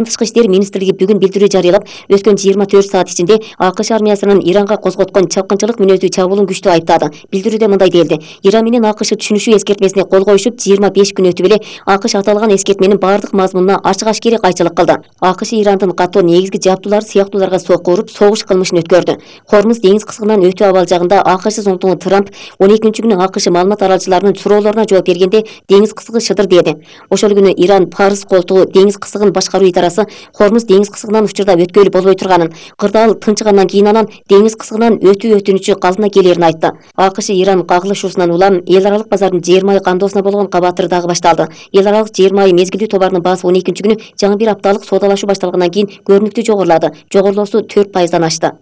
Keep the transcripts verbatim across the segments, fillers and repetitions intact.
Тышкы иштер министрлиги бүгүн билдирүү жарыялап, өткөн жыйырма төрт саат ичинде АКШ армиясынын Иранга козготкон чапкынчылык мүнөздүү чабуулун күчтүү айыптады. Билдирүүдө мындай делди: Иран менен АКШ түшүнүшүү эскертмесине кол коюшуп, жыйырма беш күн өтүп эле АКШ аталган эскертменин бардык мазмунуна ачык-ашкери кайчылык кылды. АКШ Ирандын катуу негизги жабдуулары сыяктууларга сокку уруп, согуш кылмышын өткөрдү. Хормуз деңиз кысыгынан өтүү абалжагында АКШ Зоомтуңу Трамп он экинчи күнү АКШ маалымат аралчыларынын суроолоруна жооп бергенде деңиз кысыгы шыдыр деди. Ошол күнү Иран Парыз колтугу деңиз кысыгын башкаруу идарасы Хормуз деңиз кысыгынан учурда өткөлү болбой турганын, кырдаал тынчыгандан кийин анан деңиз кысыгынан өтүү өтүнүчү калдына келерин айтты. АКШ Иран кагылышуусунан улам эл аралык базардын жыйырма ай кандоосуна болгон кабатыры дагы башталды. Эл аралык жыйырма ай мезгилдүү товарынын баасы он экинчи күнү жаңы бир апталык соодалашуу башталгандан кийин көрүнүктүү жогорулады. Жогорулоосу төрт пайыздан ашты.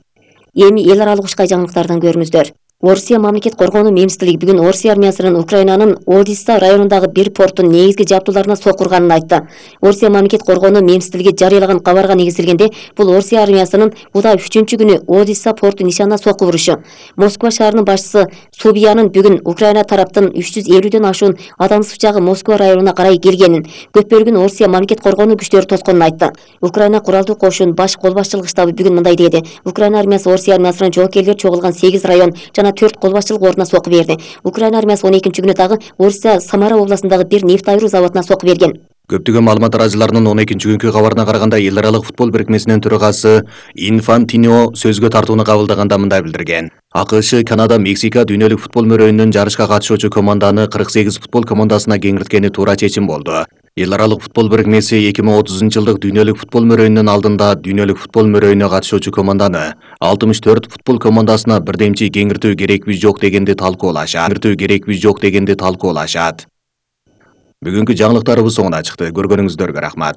Эми эл аралык ушкай жаңылыктардан көрүңүздөр. Орусия мамлекет коргонуу министрлиги бүгүн Орусия армиясынын Украинанын Одесса районундагы бир порттун негизги жабдууларына сокку урганын айтты. Орусия мамлекет коргонуу министрлиги жарыялаган кабарга негизделгенде, бул Орусия армиясынын буда үчүнчү күнү Одесса порту нишанына сокку урушу. Москва шаарынын башчысы Собиянын бүгүн Украина тараптын үч жүз элүүдөн ашуун адамсыз учагы Москва районуна карай келгенин, көп бөлүгүн Орусия мамлекет коргонуу күчтөрү тосконун айтты. Украина куралдуу кошунун баш кол башчылык штабы бүгүн мындай деди: Украина армиясы Орусия армиясынын жоокерлери чогулган сегиз район жана төрт кол башчылык ордуна сокку берди. Украина армиясы он экинчи күнү дагы Орусия Самара областындагы бир нефть айыруу заводуна сокку берген. Көптөгөн маалымат арачыларынын он экинчи күнкү кабарына караганда, эл аралык футбол бирикмесинин төрагасы Инфантино сөзгө тартууну кабылдаганда мындай билдирген: АКШ, Канада, Мексика дүйнөлүк футбол мөрөйүнүн жарышка катышуучу команданы кырк сегиз футбол командасына кеңирткени туура чечим болду. Эл аралык футбол бирикмеси эки миң отузунчу жылдык дүйнөлүк футбол мөрөйүнүнүн алдында дүйнөлүк футбол мөрөйүнүнө катышуучу команданы алтымыш төрт футбол командасына бирдемчи кеңиртүү керекпи жок дегенди талкуулашат. Кеңиртүү керекпи жок дегенди талкуулашат. Бүгүнкү жаңылыктарыбыз соңуна чыкты. Көргөнүңүздөргө рахмат.